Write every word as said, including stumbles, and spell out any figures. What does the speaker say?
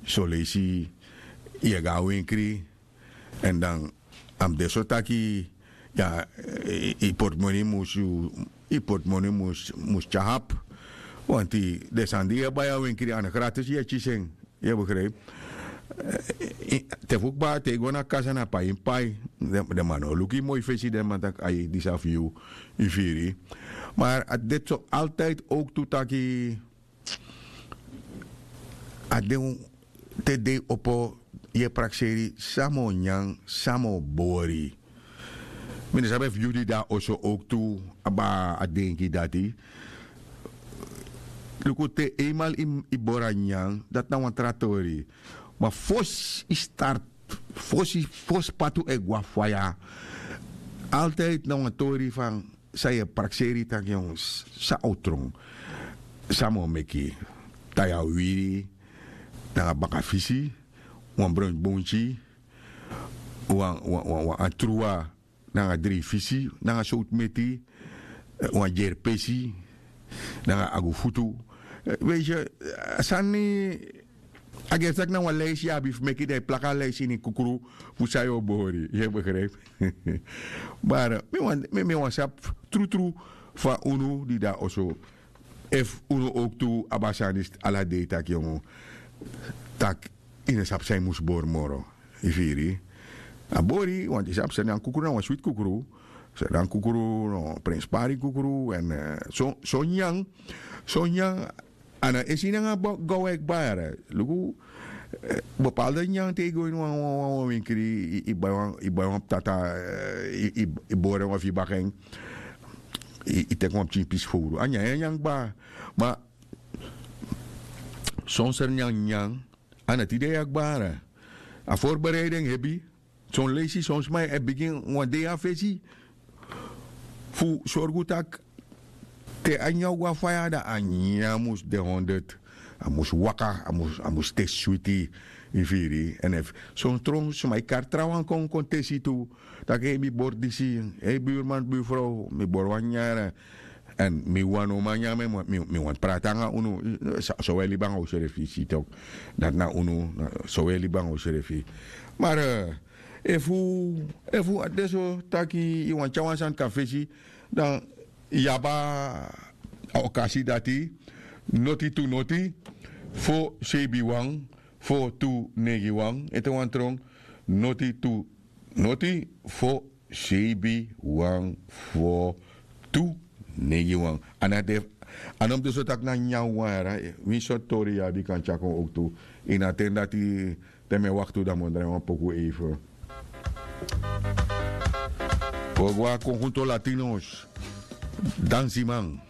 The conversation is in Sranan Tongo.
Soleisi yu e go na wenkri. Èn dan a mus de so taki yu portemoni mus yu portemoni mus tyari apu. Wanti den sani di yu e bai na wenkri a no gratis yu e kisi en. Yu e begripi? Te fu kba te yu go na kasa na pai yu mus pai. Den man no o luku yu moi fesi den man taki ai disi na fu yu. Yu firi? Ma a de so altidi owktu taki a de un te dei opo yu e prakseri san mi o nyan san mi o bori. Mi no sabi efu yu di de na oso owktu abi a denki dati. Luku te einmal yu bori a nyan dati na wan tra tori. Ma fosi yu start fosi fosi patu e go na faya. Altidi na wan tori fan san yu e prakseri taki yongu san o tron? San mi o meki? Taya wiri nanga bakafisi, wan bronsi bonsi, wan wan wan wan truwa nanga dri fisi nanga sowtu meti, wan dyeri pesi nanga agu futu. Weisi a sani a geri taki na wan leisi yu abi fu meki dan yu plaka a leisi ini kukru fu san yu o bori yu e begripi? Mari mi wani sabi trutru fa unu di de na oso efu unu owktu abi a sani ala dei taki yongu taki yu no sabi san yu mus bori moro. Yu firi? A bori wanti yu sabi sani an kukru na wan switi kukru. Sani an kukru no prenspari kukru èn son nyan son nyan a no esi nanga gaw e kba yara. Luku bepalde nyan te yu go ini wan wan wan wenkri yu bai wan ptata yu bori en wan fu yu baka en yu teki wan pikin pisi fowru a nyan ya nyan kba. Ma son seri nyan nyan a no tide ya kba yara. A forbereiden hebi. Son leisi son sma e bigin wan dei na fesi fu sorgu tak' te a nyan o go na faya dan a nyan mus de honderd. A mus waka a mus te switi. Yu firi? Èn efu son tron sma e kari trawan kon kon tesi tu tak' hei mi bori disi. Hei burman burfrow mi bori wan nyan yara. Èn mi wani no man nyan mi wani prati nanga unu. So wi e libi nanga wi srefi si tok dati na unu. So wi e libi nanga wi srefi. Mari efu efu a de so taki yu wani tyari wan sani kon na fesi dan yu abi a okasi dati. Noti tu noti fo seibi wan fo tu neigi wan ete wan tron. Noti tu noti fo seibi wan fo tu neigi wan. A no mus de so tak' na nyan wan yara. Winsi sortu tori yu abi kan tyari kon owktu ini a ten dati. Te mi e waktu dan mi o drai wan poku eife. Wi o go na konkunto latinos dansiman.